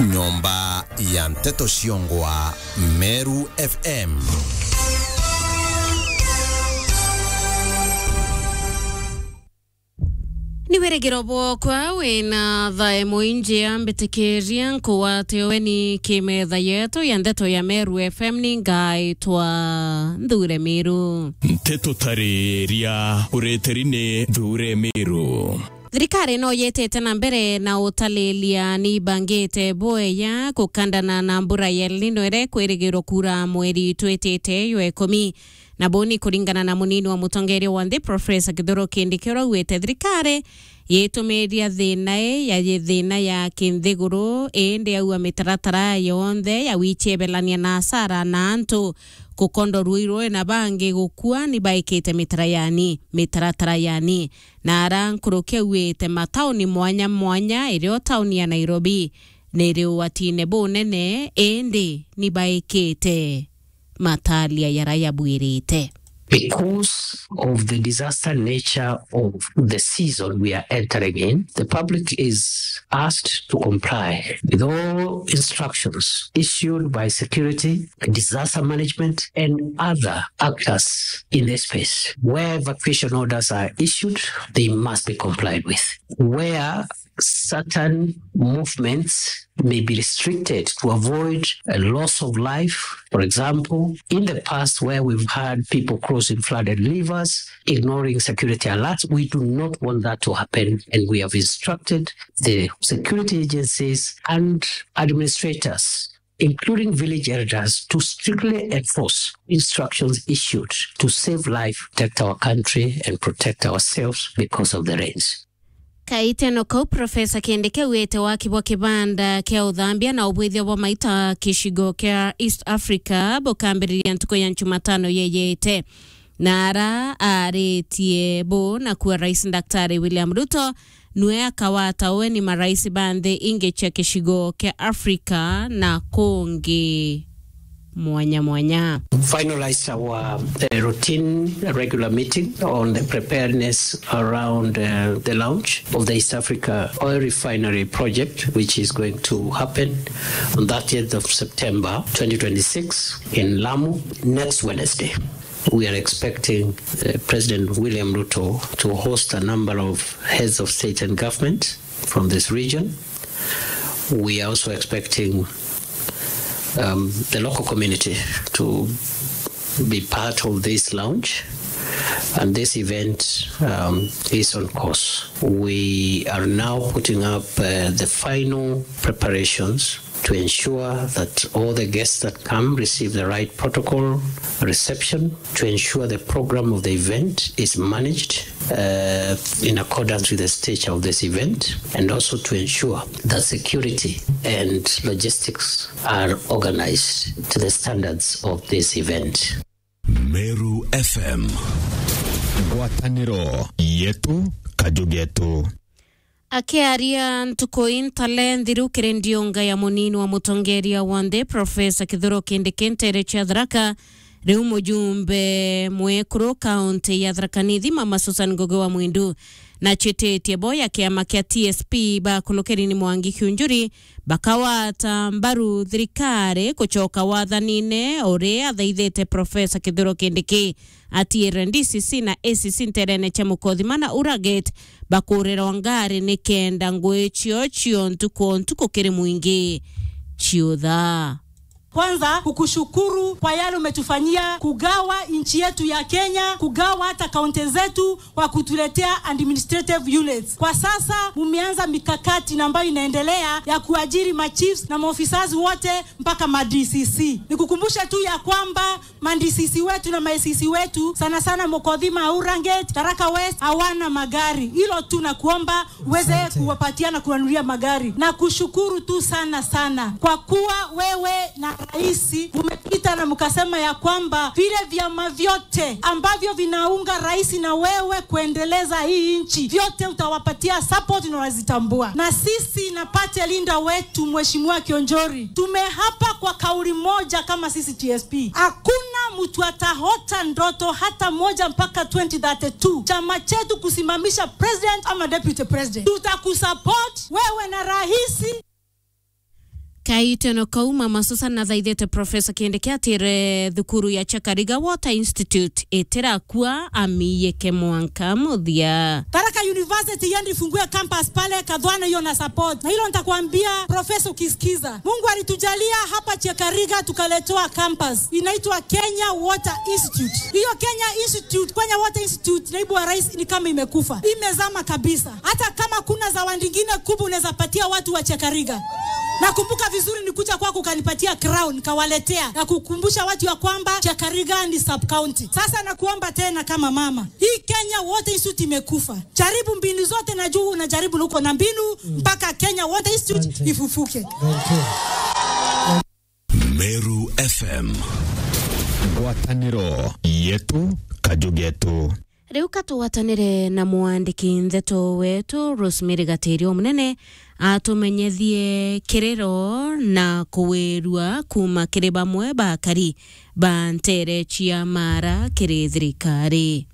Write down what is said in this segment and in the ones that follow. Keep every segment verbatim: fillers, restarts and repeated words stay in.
Nyomba ya nteto ciongwa Meru F M. Ni wirigiro bwokwa wina thae mwinjia mbitikiria nkugwate weni ki metha yetu ya nteto ya Meru F M ni ngaitwa Nthure Miru. Nteto tariria ureteri ni Nthure Miru. Thirikari no yitite na mbere na utalilia ni ibangite bweya kukandana na mbura ya El Nino iria ikwirigirwa kuura mweri twitite jwa ikumi. Na buu ni kuringana na munini wa mutongeria wa nthi, Professor Kithure Kindiki, uria augite thirikari yitumiria thina ii ya thina ya kinthiguru, indi auga mitaratara yonthe ya wichebelania na asara na antu gukondwa ruirwe na bangi gukua ni baikite mitara yani, mitaratara yani. Na ara nkuruki augite matauni mwanya mwanya irio tauni ya Nairobi ni iri ugwatine bunene, indi ni baikite matalia jara jabwirite. Because of the disaster nature of the season we are entering in, the public is asked to comply with all instructions issued by security, disaster management, and other actors in this space. Where evacuation orders are issued, they must be complied with. Where certain movements may be restricted to avoid a loss of life. For example, in the past where we've had people crossing flooded rivers, ignoring security alerts, we do not want that to happen, and we have instructed the security agencies and administrators, including village elders, to strictly enforce instructions issued to save life, protect our country, and protect ourselves because of the rains. Kaiteno kau, Professor Kindiki augite waki bwa kibanda kia uthambia na ubwithia bwa maita kicigo kia East Africa bukambiriria ntuku ya Njumatano yeyete. Na ara aritie buu nakuo Rais Daktari William Ruto nwe akawata weni marais ba nthi ingi cia gicigo kia Africa na kungi mwanya mwanya. Finalized our, uh, routine regular meeting on the preparedness around, uh, the launch of the East Africa Oil Refinery project, which is going to happen on thirtieth of September twenty twenty-six in Lamu next Wednesday. We are expecting, uh, President William Ruto to host a number of heads of state and government from this region. We are also expecting, um, the local community to be part of this launch, and this event, um, is on course. We are now putting up, uh, the final preparations to ensure that all the guests that come receive the right protocol reception, to ensure the program of the event is managed, uh, in accordance with the stature of this event, and also to ensure that security and logistics are organized to the standards of this event. Meru F M. Ngwataniro yetu, kaju getu. Akiaria ntuku intale nthiru kiri ndiunga ya munini wa mutongeria wa nthi, Professor Kithure Kindiki ntere cia Tharaka, riu mujumbe mwekuru kaunti ya Tharaka Nithi, Mama Susan Ngugi wa Mwindu, nachititie bo ya kiama kia T S P ba Kulukirini Mwangi Kiunjuri bakawata mbaru thirikari kucoka wathanine, uria athaithite Professor Kithure Kindiki atiire D C C na A C C nterene cia Mukothima na Uragate bakurirwa ngari nikenda ngui cio ciontu kwa ntuku kiri mwingi ciutha. Kwanza, kukushukuru kwa yale umetufanyia, kugawa nchi yetu ya Kenya, kugawa hata kaunti zetu kwa kutuletea administrative units. Kwa sasa, mumeanza mikakati na ambayo inaendelea ya kuajiri machiefs na maofisas wote mpaka ma D C C. Nikukumbushe tu ya kwamba ma D C C wetu na ma A C C wetu, sana sana Mukothima, Urangate, Tharaka West, hawana magari. Hilo tu nakuomba uweze kuwapatia na kuwanunulia magari. Na kushukuru tu sana sana kwa kuwa wewe na rais umepita na mkasema ya kwamba vile vyama vyote ambavyo vinaunga rais na wewe kuendeleza hii nchi, vyote utawapatia support na unazitambua. Na sisi na party leader wetu Mheshimiwa Kionjori, tumeapa kwa kauli moja kama sisi T S P. Hakuna mtu ataota ndoto hata moja mpaka twenty thirty-two chama chetu kusimamisha president ama deputy president. Tutakusupport wewe na rais. Kaiteno kau, Mama Susan athaithite Professor Kindiki atire thukuru ya Chakariga Water Institute itirakua amiyike mwanka muthia. Tharaka University yendi fungue campus pale Kathwana, hiyo na support. Na hilo nitakwambia, Professor, ukisikiza. Mungu alitujalia hapa Chakariga tukaletewa campus. Inaitwa Kenya Water Institute. Hiyo Kenya Institute, Kenya Water Institute, naibu wa rais, ni kama imekufa. Imezama kabisa. Hata kama kuna zawadi ingine kubwa unaweza patia watu wa Chakariga. Nakumbuka vizuri nikuja kwako ukanipatia crown, nikawaletea na kukumbusha watu ya kwamba Chakariga ni sub county. Sasa nakuomba tena kama mama. Hii Kenya Water Institute imekufa. Jaribu mbinu zote, najua unajaribu na uko na mbinu mpaka Kenya Water Institute ifufuke. Meru F M. Ngwataniro yetu, kaju getu. Riu ka tugwatanire na mwandiki ndeto wetu Rosemary Gatirio Munene atumenyethie kiriro na kuwirua kuuma kiri bamwe ba akari ba ntere cia Mara kiri thirikari.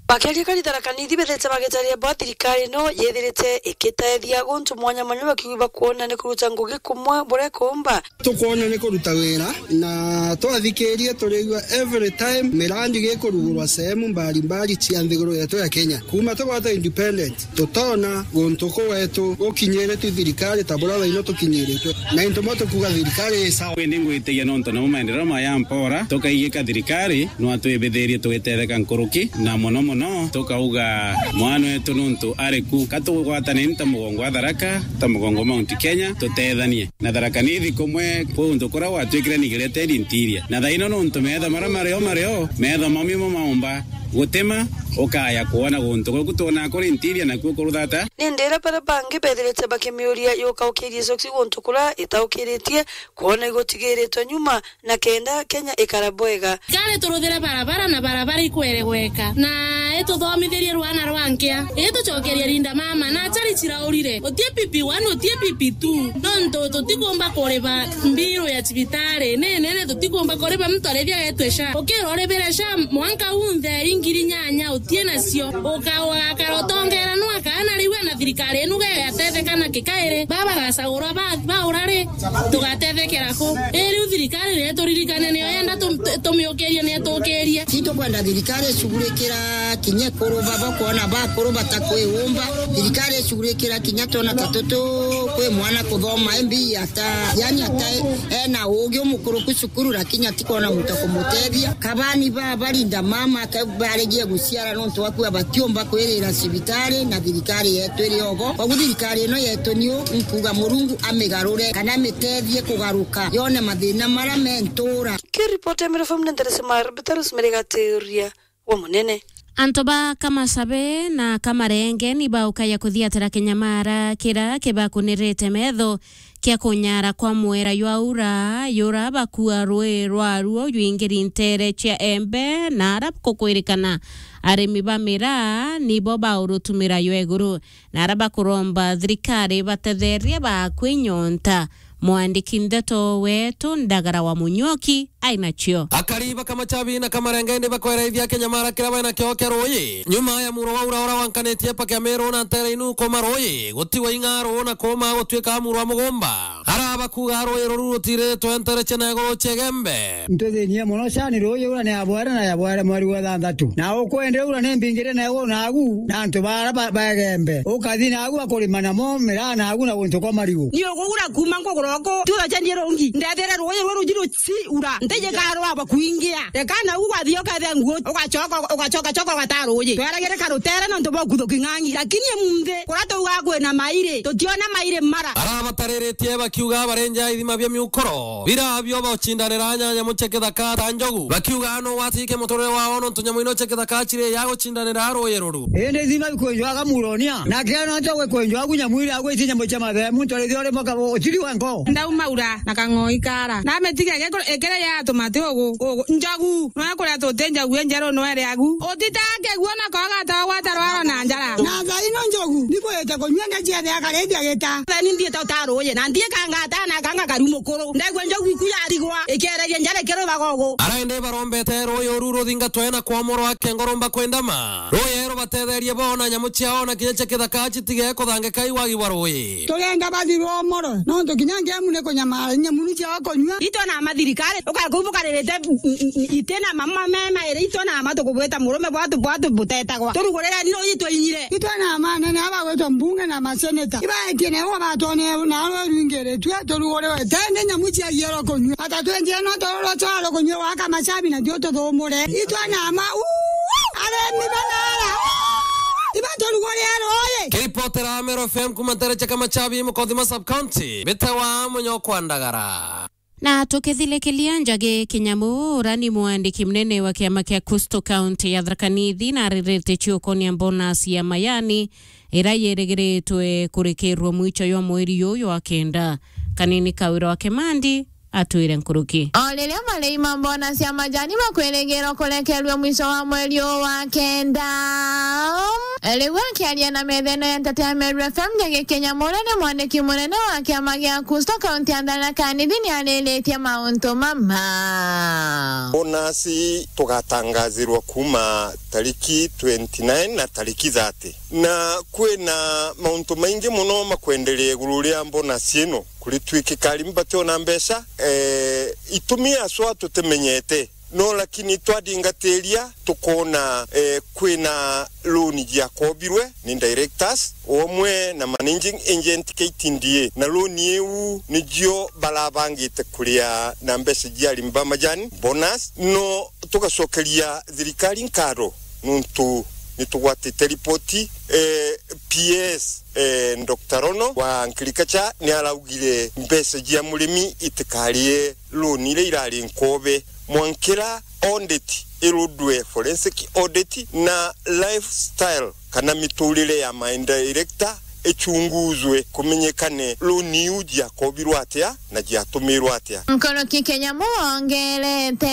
Bakiaria kari Tharaka Nithi bethete bagitaria bwa thirikari ino yethirite ikitethia guntu mwanya mwanya bakiuga bakwona ni kuruta ngugi kumwe buria kumba. Tukwona ni kuruta wira na twathikiria turigua every time mirandi gikurugurwa sehemu mbali mbali cia nthiguru yetu ya Kenya. Kuma tugwata independent, tutona guntu kuu gwetu gukinyire tu thirikari ta buria thaino tukinyiritwe. Na into mo tukuga thirikari i sawa. Indi ngwitikia nontu namo maendeleo maya mpora, tukaigika thirikari no atwibithirie tugitetheka nkuruki, na mono mono tukauga mwana wetu nontu ari ku. Ka tugwatane ni ta mugongo wa Tharaka, ta mugongo Mount Kenya, tutethanie. Na Tharaka Nithi kumwe kwi untu kuria gwatwikire Nigeria Ted Interior. Na thaino nontu metha maria mario mario, metha mami mo maumba gutima, ukaya kwona guntu guku twona kuri interior nakuo kuruthata. Ni ndira baria bangi bethirite bakimiuria yukaukirie soksi guntu kuria itaukiritie, kwona igutigiritwe nyuma, na kenda Kenya ikara bwega. Kari turuthire barabara na barabara ikweregweka, na ituthomithirie rwana rwa nkia, itucokerie Linda Mama, na achari ciraurire. Utie P P one, utie P P two, nontu tutikumba kuriba mbiru ya cibitari ni nene, tutikumba kuriba muntu arithia getwe sha. Ukira uribire sha mwanka unthe ingiri nyanya utie nacio, uka-, ugakara utongera nwa kana riu na thirikari inu gegatetheka na kikairi, baba gacagurwa ba-, baura ri, tugatethekera ku? Ii riu thirikari ni ituririkane, niyo yenda tum-, tu-, tumiukirie, ni itukirie. Titukwenda thirikari icugurikira kinya ikuru, baba kwona bakuru batakwiumba. Thirikari icugurikira kinya twana ta tutu kwi mwana kuthoma M B A ata, yani ata ena ugi umukuruku cukuru, lakini atikwona muntu kumutethia. Kabani ba barinda mama ke barigie guciara nontu wa kuga batiumba kwirira cibitari na thirikari yetu iri ogo. Koguo thirikari ino yetu niu nkuga Murungu amigarure kana amitethie kugaruka yone mathina maria me ntura. Kiripoti ya Meru F M ni Nderesi Marbita Rosemary Gatiria wa Munene. Antu ba Kamasabe na Kamarenge ni baukaya kuthiatira kinyamara kira kibakunirite metho kia kunyara kwa mwera jwa ura, jura bakua rui rwaruo jwingiri ntere cia embe, na ara kukwirikana arimi ba miraa nibo baurutumira jwa iguru, na ara bakuromba thirikari batetherie bakwi nyonta. Mwandiki ndeto wetu Ndagara wa Munyoki ainacio. Akari ba Kamachabi na Kamarenge ni bakweraithia kinyamara kiria bainakio kia ruuji nyuma ya muro wa ura uria wankanitie paki ya Meru na ntere inu kuuma ruuji gutigwa ing'aru na kuuma gutuika muro wa mugumba. Ara bakuga ruuji ruru rutiritwe ntere cia na iguru cia Igembe. Ntuthinie mono cani ruuji ura ni ya bwere na ya bwere mweri wa thanthatu. Na ukwende ura ni mbingire na iguru nagu na antu bara ba-, ba Igembe. Ukathi nagu bakurima namo miraa nagu na guntu kwa marigu. Ni ugugura kuuma nkugura uku, tuthacanie rungi. Ndethire ruuji ruru ruji ruci ura. Ntiji karwa bakuingia. Reka nagu gwathi ukethe nguo, ugacoka, ugacoka, coka ugata ruuji. Tweragire karutere nontu bwa kuthuki ng'ang'i. Lakini emunthi, kuria tuga kwina mairi, tutiona mairi mara. Arabatariritie bakiuga barenja ithima bia miukoro. Bira bio bacindanira nyanya muceke thaka ta njogu. Bakiuga no watike muturire wao nontu nyamu ino ceke thaka ciri ya gucindanira ruuji ruru. Indi ithima bikwenjwaga muronia. Na kena nto gwikwenjwagu nyamu iria gwiti nyamu cia mathemu, ntorithio ri mwaka utiri wa nko. Ndauma ura na kang'oi kara. Na metiga gekuru ikere ya tumati ugu, ugu. Njogu, no kuria tuti njogu enjeru no ere agu. Utitake guo na koga ta gwata rwaro na njara. Na thaino njogu, nikwete kunyua na ciathe akarithia gita. Thani ndie ta utaruye, na ndie kangata. Na kanga karu mukuru. Ndaigua njogu iku yarigwa, ikereria njara ikirubaga ugu. Araende barombete ruuyi uru ruthingatwe na kwomorwa kengoromba kwendama. Ruuyi rubatetherie boona nyamu ciao na kinya cia kithaka citige kuthangika i wagi bwa ruuyi. Tugenda bathi rwomorwe, nontu kinya ngemu ni kunyamara, nyamu ni ciao kunyua. Itwe na mathirikari, ukaya kuu bukaririte, mm, mm, mm, iti na mama me mairi, itwe na ma tukubwita murume bwatu, bwatu butetagwa. Turugurire ni ruuyi twinyire. Itwe na manene aba gwitwa mbunge na maseneta. Ibaetie nabo batwone na arwe rwingiritue turuguriwe. Tende nyamu cia giero kunyua. Ata twenjire no tururwa twaro kunyua waka macabi na tio tuthumure. Itwe na ma, uu, aremi banara. Ibaturugurire ruuyi. Kiripotera Meru F M kuma ntere cia Kamachabi, Mukothima Sub County, Bitawa Munyokwa Ndagara. Na tukithilikilia Njagi Kinyamu, uria ni mwandiki munene wa kiama kia Coastal County ya Tharaka Nithi, na aririte ciukonia bonus ya majani, iria yirigiritwe kurikirwa mwicho jwa mweri uyu wa kenda. Kanini Kawira wa Kimandi atwire nkuruki. O riria marei ma bonus ya majani makwirigirwa kurekerua mwicho wa mweri uyu wa kenda. Riu akiaria na metha ino ya nteto ya Meru F M, Njagi Kinyamu, uria ni mwandiki munene wa kiama gia Coastal County ya Tharaka Nithi, ni ariritie mauntu mama. Bonus tugatangazirwa kuma tariki twenty nine na tariki thirty. Na kwina mauntu maingi mono makwenderea iguru ria bonus ino. Kuritwikika arimi bationa mbeca, eh, itumi aswa tutimenyete. No lakini twadingatiria, tukoona, eh, kwina loan jiakobirwe ni directors, omwe na managing agent K T D A. Na loan iu nicio barabangite kuria na mbeca cia arimi ba majani, bonus. No tugacokeria thirikari nkatho, nuntu nitugwatite ripoti, eh, P S, eh, Doctor Rono wa Agriculture ni araugire mbeca cia murimi itikarie loan iria irari nkobe. Mwankira audit irudwe, forensic audit, na lifestyle kana miturire ya my director ichunguzwe, kumenyekane loan iu jiakobirwe atia na jiatumirwe atia. Nkuruki Kinyamu wongerete.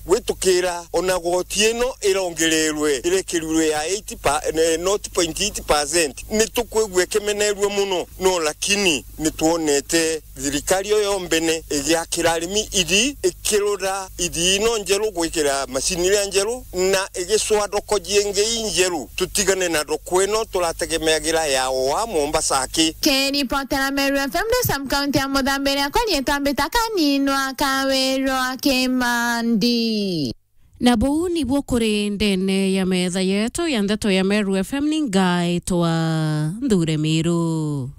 Gwitukira ona goti ino irongererwe, irekerirwe ya eight pa, eh, nought point eight percent. Nitukwigua ikimenerua muno, no lakini nitwonete thirikari iyo yombene igiakira arimi ithii, ikirura ithii ino njeru, gwikira macini iria njeru, na igicwa thoko jingi injeru, tutigane na thoko ino turategemeagira ya oa Mombasa aki. Kiripotera Meru F M ndi sub county ya Muthambi, riakwa riitwa Mbita Kaninwa Kawirwa Kimandi. Na buu nibuo kuri ndene ya metha yetu ya ndeto ya Meru F M, ni ngaitwa Nthure Miru.